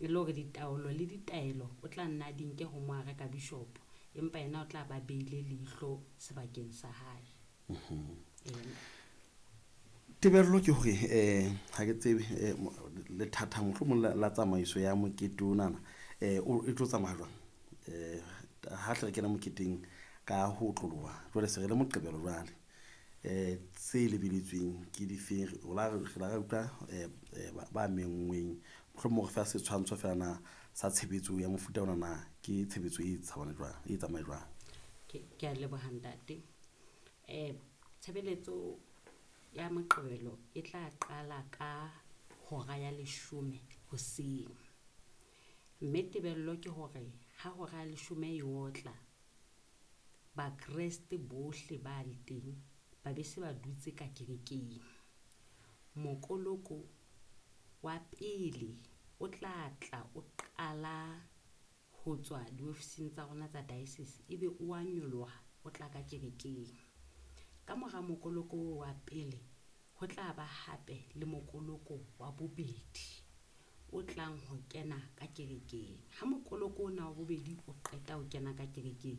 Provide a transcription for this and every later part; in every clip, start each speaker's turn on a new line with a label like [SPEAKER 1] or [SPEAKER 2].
[SPEAKER 1] E le hore ditaolo le ditaelo o tla nna di nke ho moareka bishopo, empa yena o tla ba beile leihlo sebakeng sa hae.
[SPEAKER 2] Tebello ke hore ha ke tsebe lethatha mohlomong la tsamaiso ya mokete onana e tlo tsamaya jwang? Ha hle re kena moketeng ka ho otloloha, jwale se re le Moqebelo jwale. Tse lebeletsweng ke difeng? Re la re utlwa ba menngweng, mohlomong re fa setshwantsho feela na sa tshebetso ya mofuta ona na ke tshebetso e tshabana jwang, e tsamaye jwang?
[SPEAKER 1] Ke a leboha ntate. Tshebeletso ya Moqebelo e tla qala ka hora ya 10 hoseng. Mme tebello ke hore ha hora ya 10 e otla, Bakreste bohle ba le teng ba be se ba dutse ka kerekeng. Mokoloko wa pele o tla tla o qala ho tswa diofising tsa rona tsa diocese, ebe o a nyoloha o tla ka kerekeng. Ka mora mokoloko wa pele ho tla ba hape le mokoloko wa bobedi o tlang ho kena ka kerekeng. Ha mokoloko ona wa bobedi o qeta ho kena ka kerekeng,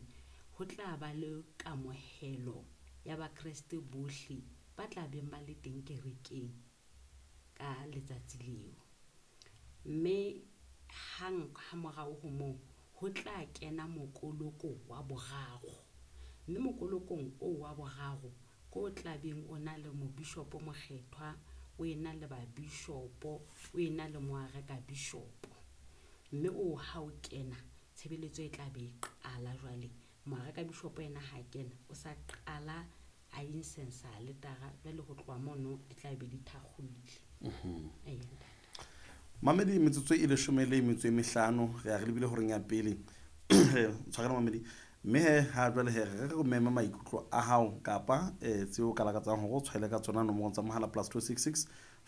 [SPEAKER 1] ho tla ba le kamohelo ya Bakreste bohle ba tla beng ba le teng kerekeng ka letsatsi leo. Mme hang ha morao ho moo ho tla kena mokoloko wa boraro. Mme mokolokong oo wa boraro ko o tla beng o na le mobishopo mokgethwa, o ena le babishopo, o ena le moareka bishopo. Mme o ha o kena tshebeletso e tla be e qala jwale. Moareka bishopo yena ha kena o sa qala a incense aletara, jwale ho tloha mono di tla be di thakgohile.
[SPEAKER 2] Mamedi, metsotso e 15 re ya re lebile horeng ya pele. Tshwarela mamedi. Mme he ha jwale he re re mema maikutlo a hao kapa tseo ka lakatsang hore o tshwaele ka tsona nomorong tsa mohala +266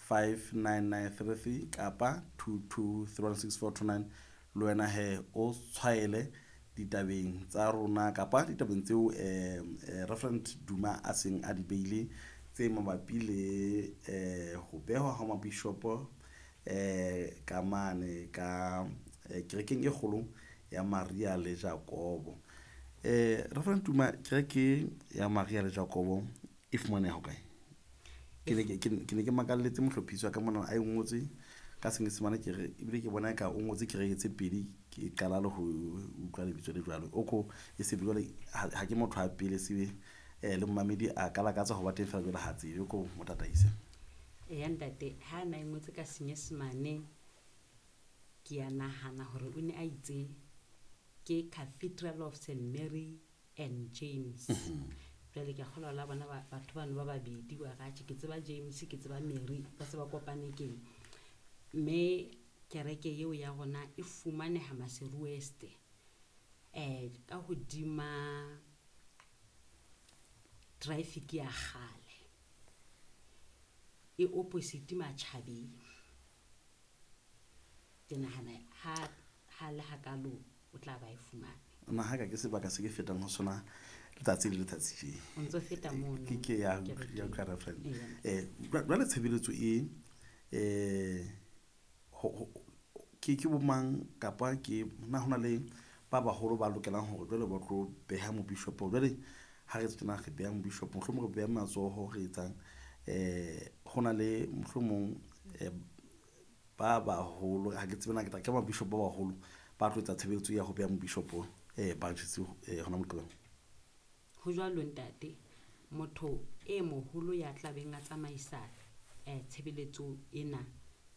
[SPEAKER 2] 59933 kapa 22316429. Le wena he o tshwaele ditabeng tsa rona kapa ditabeng tseo Reverend Duma a seng a di beile tse mabapi le ho behwa ha mabishopo ka mane ka kerekeng e kgolo ya Maria le Jakobo. Reverend Duma, kereke ya Maria le Jakobo e fumaneha hokae? Ke ne ke makalletse mohlophiso wa ka mona a e ngotse ka Senyesemane, ke re ebile ke bona eka o ngotse kereke tse pedi, ke qala le ho utlwa lebitso le jwalo. O ko e se jwale ha ke motho a pele sebe le mmamedi a ka lakatsa ho ba teng fela jwale ha tsebe, ko mo tataise.
[SPEAKER 1] Eya ntate, ha na e ngotse ka Senyesemane ke a nahana hore o ne a itse ke Cathedral of Saint Mary and James. Jwale ke a kgolwa la bona batho bano ba babedi wa ratjhe, ke tseba James, ke tseba Mary, ba se ba kopane keng. Mme kereke eo ya rona e fumaneha Maseru West, ka hodima traffic ya kgale, e opposite Matjhabeng. Ke nahana ha le hakalo o tla ba e fumane.
[SPEAKER 2] Nna ha ka ke sebaka se ke fetang ho sona letsatsi le letsatsi tje.
[SPEAKER 1] O ntso feta mono.
[SPEAKER 2] Ke ya
[SPEAKER 1] kerekeng.
[SPEAKER 2] Ya utlwa Reverend. Jwale tshebeletso e ke bomang kapa ke na hona le ba baholo ba lokelang hore jwale ba tlo beha mobishopo? Jwale ha re tjena re beha mobishopo, mohlomong re beha matsoho re etsang, hona le mohlomong ba baholo, ha ke tsebe na ke tla ke mabishopo ba baholo ba tlo etsa tshebeletso ya ho beha mobishopo branches hona Moqebelo.
[SPEAKER 1] Ho jwalo ntate, motho e moholo ya tla beng a tsamaisa tshebeletso ena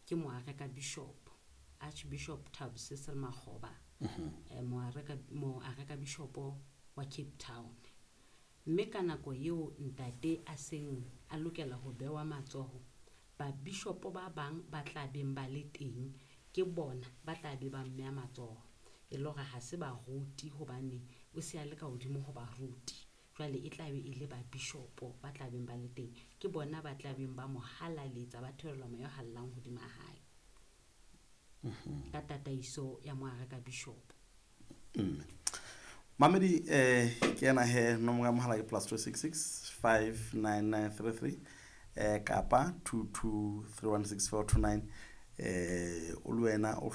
[SPEAKER 1] ke moareka bishop, Archbishop Thabo Cecil Makgoba, moareka bishop wa Cape Town. Mme ka nako eo ntate a seng a lokela ho bewa matsoho, babishopo ba bang ba tla beng ba le teng ke bona ba tla be ba mmeha matsoho. E le hore ha se baruti hobane o se a le ka hodimo ho baruti. Jwale e tla be e le babishopo ba tla beng ba le teng, ke bona ba tla beng ba mo halaletsa, ba theolela moya o halalelang hodima hae. Ka tataiso ya moareka bishop.
[SPEAKER 2] Mamedi, ke ena he nomoro ya mohala ke +266 59933 kapa 22316429. O le wena o